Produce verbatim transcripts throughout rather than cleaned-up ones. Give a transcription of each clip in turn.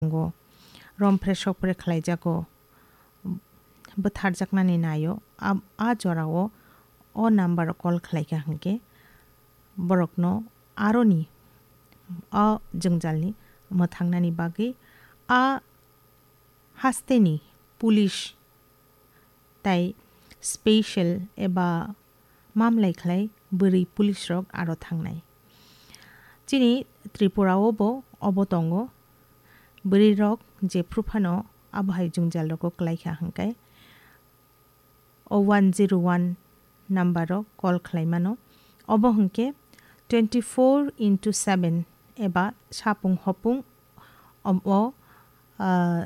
tongo, romphre sokphre khlaijago, bwtharjaknani naio, a, a jorao o number o call khlaikha hwnkhe borokno aroni o jwngjalni mwthangnani bagwi a hasteni police tai special eba mamlai khlai bwrwi police rok aro thangnai. Chini Tripura o bo obo tongo. Bwrwi rok jephru phano abo hai jwngjal rogo kwlai kha hwnkhe o one zero one number o call khlai mano. Obo hwnkhe twenty four into seven eba sapung hopung omo, ah,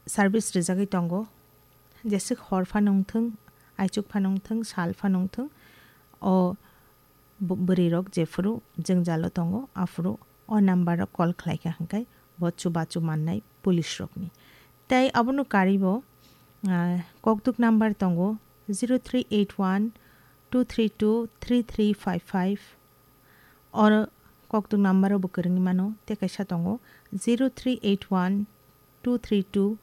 service rijagwi tongo. Jeswk hor phano wngthwng, aichuk phano wngthwng, sal phano wngthwng, o bo-, bwrwi rok jephuru jwngjalo tongo, aphuru o number o call khlai kha hwnkhe bo chubachu mannai police rokni. Tei abono karibo, ah, kokduk number tongo zero three eight one two three two three three five five. Oro kokduk number o bo kwrwngwi mano, tei kaisa tongo zero three eight one two three two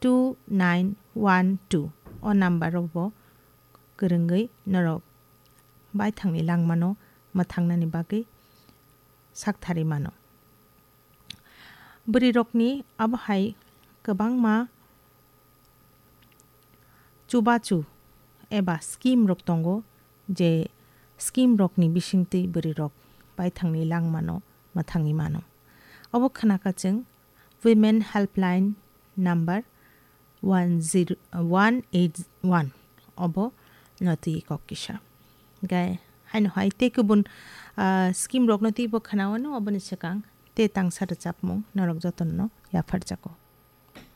two nine one two. O number o bo kwrwngwi norok baithangni langmano mwthangnani bagwi saktharwi mano. Bwrwi rokni abo hai kwbangma chubachu eba scheme rok tongo, je scheme rokni bisingtwi bwrwi rok baithangni langmano mwthangwi mano. Obo khwnakha chwng Women Helpline number one zero, one eight one obo no twi kok kisa. Gai haino hai tei kubun, ah, scheme rokno twibo khwnawano oboni swkang tei tangsa rwchapmung norok jotono yapharjago.